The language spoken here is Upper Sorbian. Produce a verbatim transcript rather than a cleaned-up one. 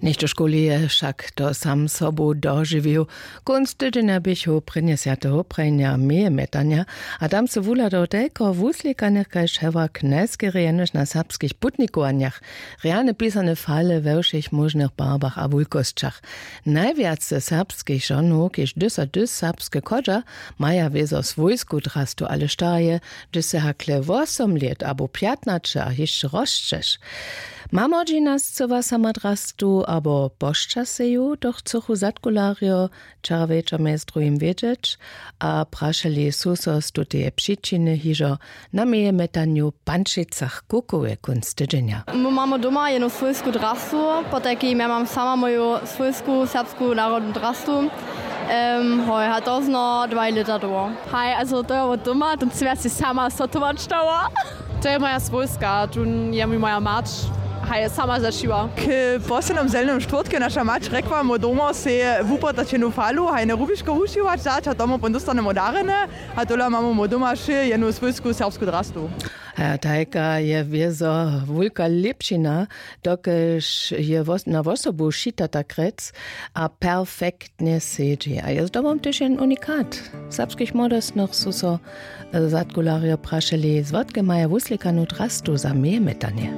Něšto škuli je wšak to sam sobu dožiwił. Kónc tydźenja běchu prěnje swjateho prajnja, meje mjetanja, a tam sy wuhladał telko wuslikanych kaž hewak najskerje jenož na serbskich putnikowanjach. Rjane pisane fale we wšěch móžnych barbach a wulkosćach. Najwjace serbskich žonow kiž dysa dys serbske chodźa, maja wězo swójsku drastu ale štarje, hdyž sy hakle wosom lět abo pjatnaće a hišće rosćeš. Mamodźina scyła sama drastu abo pošćaseju, to chcychu zadkularjo wčera wječor mjez druhim wědźeć. A prašeli su so z tuteje přičiny hižo na meje mjetanju w pančicach kukowe kónc tydźenja. My mamy doma jednu swójsku drastu, potajki ja mam sama moju swójsku serbsku narodnu drastu. Hoj, a to zno dwaj lěta doło. Haj, also to je wot doma, to smy ja sej sama sotować dała. To je moja swójska, tón je mi moja mać. Haj, sama zašiła. K poslednym zelnym štwórtke naša mać rekła, my doma sej wupytać jednu falu hajne rubiško wušiwać dać a tomu pon dóstanemy darjene. A tola mamy my doma wšě jednu swójsku serbsku drastu. Haj, tajka je wězo wulka lěpšina, dokelž je na wosobu šitata krjec a perfektnje sedźi a je zdobom tež jen unikat. Serbskich młodostnych su so zadkularjo prašeli, zwotke maja wuslikanu drastu za meje mjetanje.